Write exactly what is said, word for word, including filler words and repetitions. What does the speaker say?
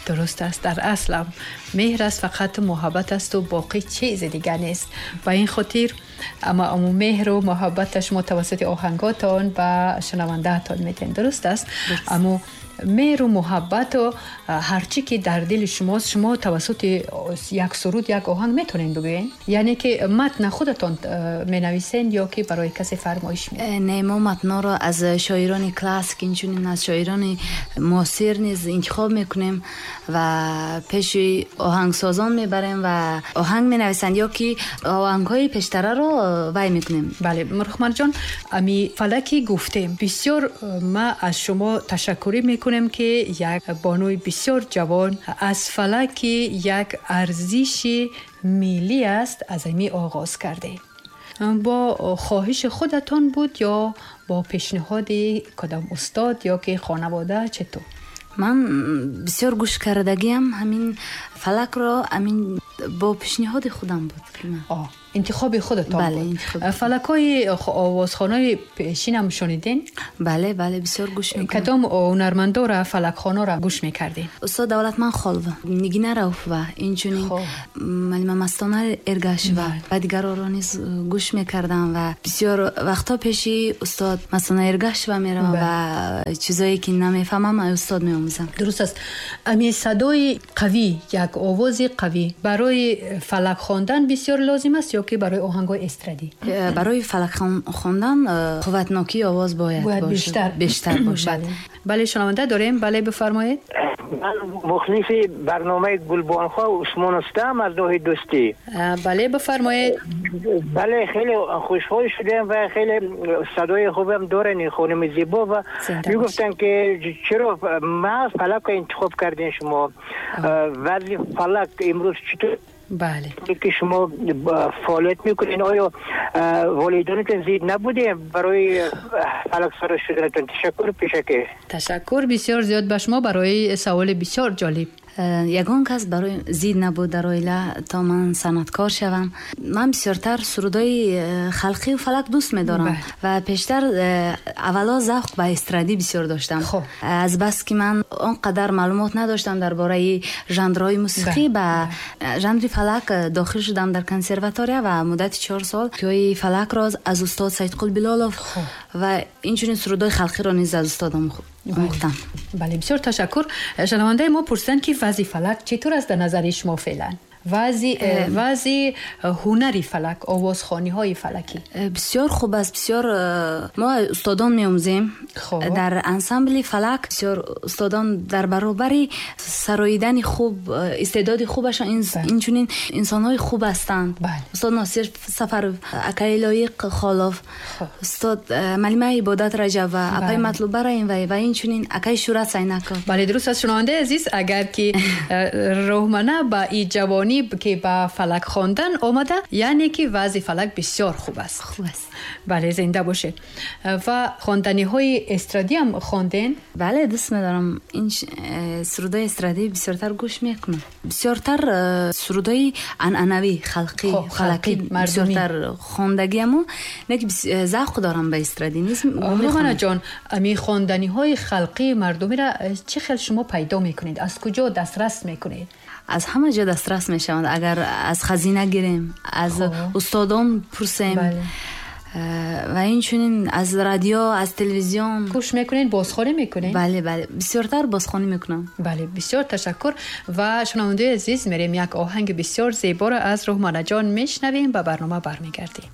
Дуруст аст, дар аслам меҳр аст, фақат муҳаббат аст ва боқӣ чизи дигар нест. Ба ин хотир аммо аммо меҳру муҳаббат шумо тавассути оҳанготон ба шунавандаатон медиҳед. Дуруст аст? Аммо меҳру муҳаббату ҳарчи ки дар дили шумост, шумо тавассути як суруд, як оҳанг метавонед бигӯед? Яъне ки матна худатон менависед ё ки барои касе фармоиш медиҳед? Не, мо матнҳоро аз шоирони классик, инчунин аз шоирони муосир низ интихоб мекунем ва пеши оҳангсозон мебарем ва оҳанг менависанд ё ки оҳангҳои пештараро вай мекунем. Бале, Рухманаҷон, ами фалаки гуфтем. Бисёр ма аз шумо ташаккурӣ мекунем ки як бонуи бисёр ҷавон аз фалаки як арзиши миллӣ аст, аз ами оғоз кардем. Бо хоҳиши худатон буд ё бо пешниҳоди кадом устод ё ки хонавода, четур? Ман бисёр гӯш кардагиам ҳамин фалакро, ҳамин бо пешниҳоди худам буд. О, интихоби худатон бале, буд. Интихоб. Фалакҳои овозхонаи пешинам шунидин? Бале, бале, бисёр гӯш мекунам. Кадом ҳунармандора, фалакхонора гӯш мекардин? Устод Давлатман Холова, Нигина Рауфова, инчунин Малима Мастона Эргашева ва дигарро низ гӯш мекардам ва бисёр вақтҳо пеши устод Мастона Эргашева меравам ва чизое ки намефаҳмам аз устод меомӯзам. Дуруст аст. Ами садои қавӣ, як овози қавӣ барои фалак хондан бисёр лозим аст ё ки барои оҳангҳои эстрадӣ? Барои фалак хондан қувватнокии овоз бояд бояд бештар бештар бошад. Бале, шунаванда дорем. Бале, бифармоед. Ман мухлиси барномаи Гулбонҳо Усмон ҳастам аз ноҳияи Дӯстӣ. Бале, бифармоед. Бале, хеле хушҳол шудем ва хеле садои хубам дорен ин хонуми зебо ва мегуфтанд ки чаро ма фалакро интихоб кардин шумо? Вазъи фалак имрӯз читор Бале. Ки шумо фаъолият мекунед, оё волидонатон зид набудем барои фалаксаро шуданатон? Ташаккур пешакӣ. Ташаккур бисёр зиёд ба шумо барои саволи бисёр ҷолиб. Ягон кас барои зид набуд дар оила то ман санъаткор шавам. Ман бисёртар сурудҳои халқию фалак дӯст медорам ва пештар аввало завқ ба эстрадӣ бисёр доштам. Аз бас ки ман он қадар маълумот надоштам дар бораи жанрҳои мусиқӣ, ба жанри фалак дохил шудам дар консерватория ва муддати чор сол кӯи фалакро аз устод Саидқул Билолов ва инчунин сурудҳои халқиро низ аз устодам омӯхтам. Бале, бисёр ташаккур. Шунавандаи мо пурсиданд ки вазъи фалак читор аст дар назари шумо феълан? вазъи вазъи ҳунари фалак, овозхониҳои фалакӣ бисёр хуб аст. Бисёр мо устодон меомӯзем дар ансамбли фалак. Бисёр устодон дар баробари сароидани хуб, истеъдоди хубашон, инчунин инсонҳои хуб ҳастанд. Устод Носир Сафаров, акаи Лоиқ Холов, устод Малима Ибодат Раҷабова, апаи Матлуба Раимова ва инчунин акаи Шӯрат Сайнаков. Бале, дуруст аст. Шунавандаи азиз, агар ки Рӯҳмана ба и ҷавонӣ ки ба фалак хондан омада, яъне ки вазъи фалак бисёр хуб аст. Хуб аст. Бале, зинда бошед. Ва хонданиҳои эстрадӣ ҳам хонден? Бале, дӯст медорам. Ин сурудҳои эстрадӣ бисёртар гӯш мекунам. Бисёртар сурудҳои анъанавӣ, халқӣ, фалакӣ бисёртар хондагиаму, не ки завқ дорам ба эстрадӣ низ. Рӯҳманаҷон, ами хонданиҳои халқии мардумиро чӣ хел шумо пайдо мекунед? Аз куҷо дастрас мекунед? Аз ҳама ҷо дастрас мешаванд. Агар аз хазина гирем, аз устодон пурсем ва инчунин аз радио, аз телевизион. Гӯш мекунед, бозхонӣ мекунед? Бале, бале, бисёртар бозхонӣ мекунам. Бале, бисёр ташаккур. Ва шунавандаи азиз, мерем як оҳанги бисёр зеборо аз Рӯҳманаҷон мешнавем, ба барнома бармегардем.